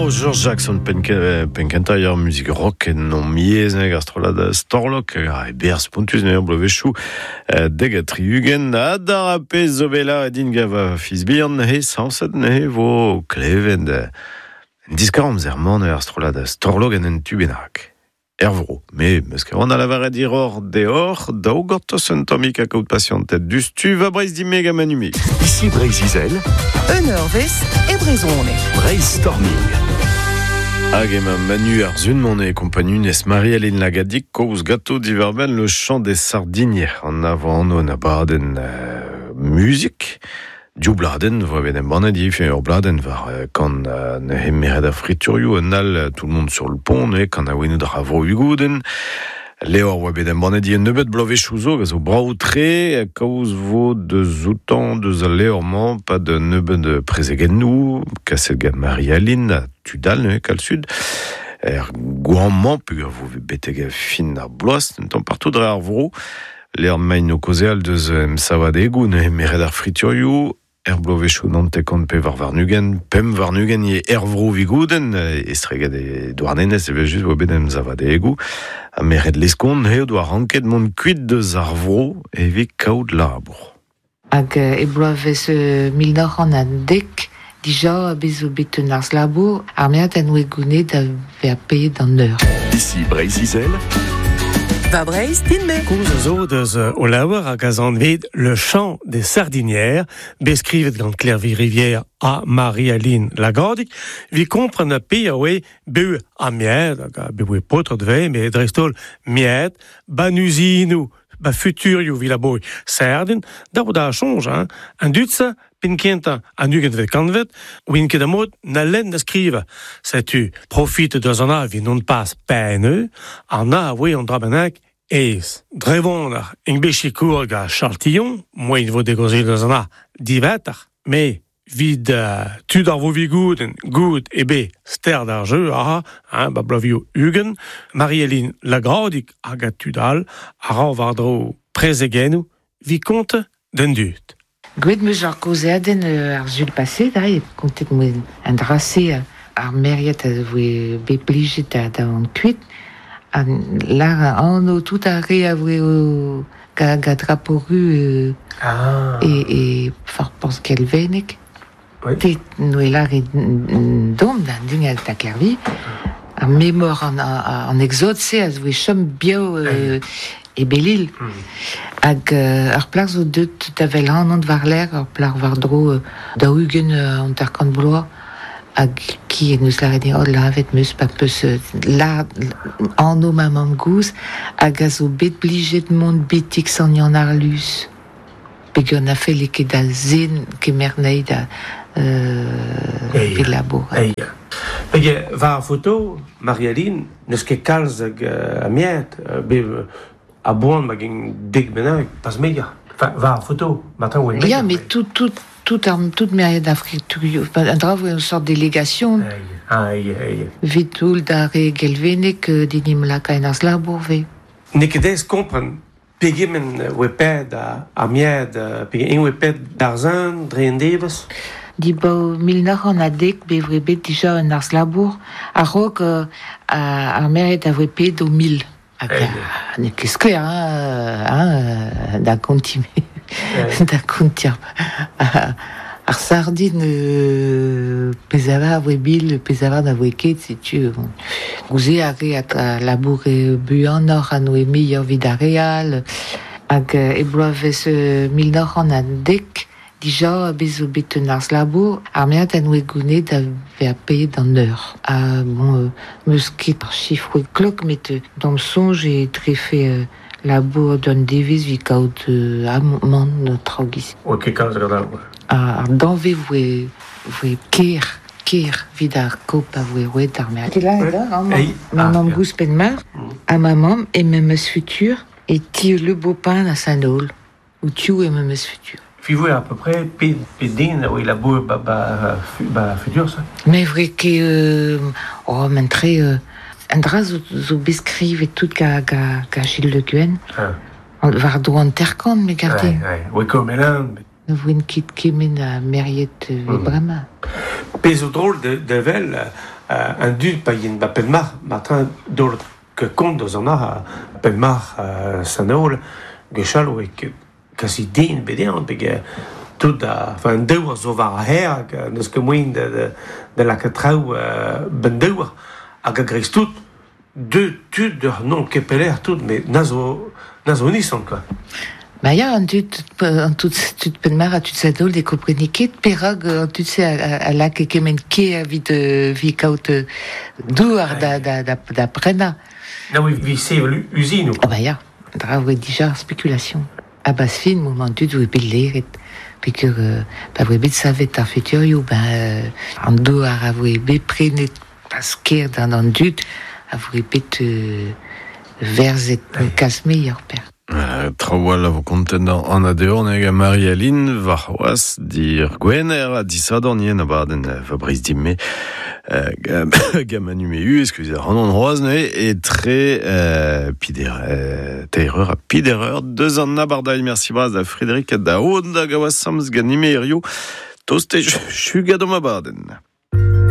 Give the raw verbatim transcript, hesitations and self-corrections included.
Maro George Jackson penkenta ur muzik rock en on miez neg ar strollad Storlok a e berz pontus ne bloavezhioù deg ha tri-ugent ha d'ar pezh zo bela din gav fiz bihan he sañset ne vo klevet diskar amzer man ar strollad Storlok en un tu bennak. Ervro, me meus ket a lavaret diror deor, daou gortoz un tammig a kaout pasianted dustu va Breizh dimeg ha manumig. Ici Breizh-Izel, Un eurvezh e brezhoneg. Breizh Storming. Hag ema Manu ar zun mon e kompagnunez Marie-Aline Lagadig koz gato diverben le chant des sardiniers an avant an abadenn euh, muzik. Diou bladen, vo bet embannet div ur bladen war kan ne hemeret a friturioù un all tout le monde sur le pont ne kan a wenou dra vro ugouden. Leor oa bet embannet di un nebeut bloavezhioù zo gant zo brav tre kaoz vo deus outan deus al leor-mañ pa de nebeut prezegennoù kaset gant Marie-Aline a tudal ne kal sud. Er goañ-mañ peogwir vo beteg fin ar bloaz un tamm partout dre ar vro. Leor main o kaozeal deus emsavadegou ne meret ar friturioù er bloavezhioù naontek pevar warn-ugent, pemp warn-ugent e er vro vigouden, estreget e Douarnenez evel just oa bet emsavadegou, ha meret leskont eo doa ranket mont kuit deus ar vro evit kaout labour. Hag e bloavezh mil nav c'hant ha dek, dija bez zo bet un arz labour, ar meat an oe gounet da ver paeet an eur. Ici Breizh-Izel, Va Breizh din-me. Koz a zo deus o laouer hag a zanvet Le Chant des Sardinières, beskrivet gant Klervi Rivière ha Marie-Aline Lagadig, vi kompren a pe a oe beu a mied, hag a beu e potr dve, me dreistol mied, ba nuzinoù, ba futurioù vi laboi sardin, da vo da chonj, hein, an dutse, pin kentañ an ugentvet kantved, oin ket amod na lenn da skriva. Setu profit deus an a vi non pas peineu, an a oe an dra bennak aes. Drevon ar eng bechikour ga Charles moin vo degozel deus an a divetar, me vid uh, tud ar vo vigouden goud e be ster d'ar jeu aha, hein, ba blavio ugent, Marie-Aline Lagradig hag a tud all, a ra war dro prezegennoù, vi konte den dud. Gwet meus ar kaozeadenn ar zul paset, da, e kontet moen an drase ar meriet a voe bet plijet da, da an kuit. An lar anv tout ar re a voe o ga, ga draporu euh, ah. e, e far pans kelvenek. Oui. Te noe lar e dom da ding a ta Klervi. Ar memor an, an, an exode se a voe chom bio euh, e belil. Mm. Hag euh, ar plar zo deut da vel an an war l'air, ar plar war dro euh, da ugen euh, an tarkant bloaz, hag ki en eus lâret oh lavet meus pa peus la anv ma mamm gouz, hag a zo bet blijet mont betik sant Yann Arlus. Peogwir na felle ket da zen kemer nei da euh, Eia. labour. Eia. Pege, war ar foto, Marie-Aline, n'eus ket kalz hag uh, a miet, uh, be a boan ma gen dek bennak, pas meia. Enfin, war ar foto, matin oe meia. Ya, mais tout, tout, tout, ar, tout meriet ar friturioù, un dra voe une sorte délégation. Aïe, aïe, aïe. Vitoul da re gelvenek dinim laka en arz labour ve. N'eo ket aes kompren pegement oe ped a, a miet, pegement oe ped d'ar zun, dre en devez. Di bao mil nav c'hant ha dek be voe bet dija un arz labour, a-raok euh, ar meriet a voe ped o mil. Hag n'eo ket skwer, hein, hein, da konti, da konti ar, ar sardin euh, pezava a voe bil, pezava da voe ket, setu. Bon. Gouze a re a labour e buanoc'h a noe meilleur vid ar real, hag e bloavezh mil nav c'hant ha dek, dija bez zo bet un arz labour, ar meat a noe gounet da ver paeet an eur. Ha, bon, euh, meus ket ar chifroù klok, met euh, d'am soñj e trefe euh, labour d'un devez vi kaout euh, amant traoù giz. Oa ket kalz gant ar. Ar danve voe, voe ker, ker vid ar kop a voe roet ar meat. Là, là, hein, Ei. ma Ah, mamm ya. gouz penn-mar, ha ma mamm e memes futur, e ti le beau-pain a Saint-Aul, ou tiu e memes futur. Fi voe à peu près pe, pe den oe labour ba, ba, ba futur, ça. Mais vrai que euh, oh, mentre euh, an dra zo, zo beskrivet tout ga, ga, ga Gilles Le Guen. Ah. War dro an terkant, me garde. Ouais, ouais. Oe komelan. Ne voen ket kemen a meriet euh, Mm. bremañ. Pezh zo drôle de, de vel, euh, an dud pa yen ba penmar, matin dol ke kont deus an ar, penmar euh, sanol, gwechall oe ket kasi den bedean, beg tout a, enfin, an deur zo war a her, hag neus ket moen de, de, de lakaat traoù euh, ben deur, hag a greiz tout, deux tud d'ur non kepeler tout, mais na zo, na zo nisan, quoi. Ba ya, an dud, an tout, tud penmar a tud sa dol de kompreni ket perag an tud se a, a, a lak e kement ke a vid, vi kaout douar da, da, da, da prena. Na oui, vi sevel usine, Ah ba ya, dra voe dija ar spekulation. A bas fin, moment dud voe bet leret. Pekur, euh, pa voe bet savet ar futurioù, ben, euh, an douar a voe bet prenet pas ker d'an an dud, a voe bet euh, verzet kas meilleur per. Euh, Traoù a vo kontent an adeor neg a Marie-Aline war c'hoaz dir Gwener a disadorn yen abadenn Fabrice Dimme euh, gam anumeu, excusez, an an roaz neuze e tre euh, pider, euh, teir eur a pider eur deus an abardailh, merci braz da Frédéric da Aod da gaoaz samz ganime hirio, toste chugad om abadenn.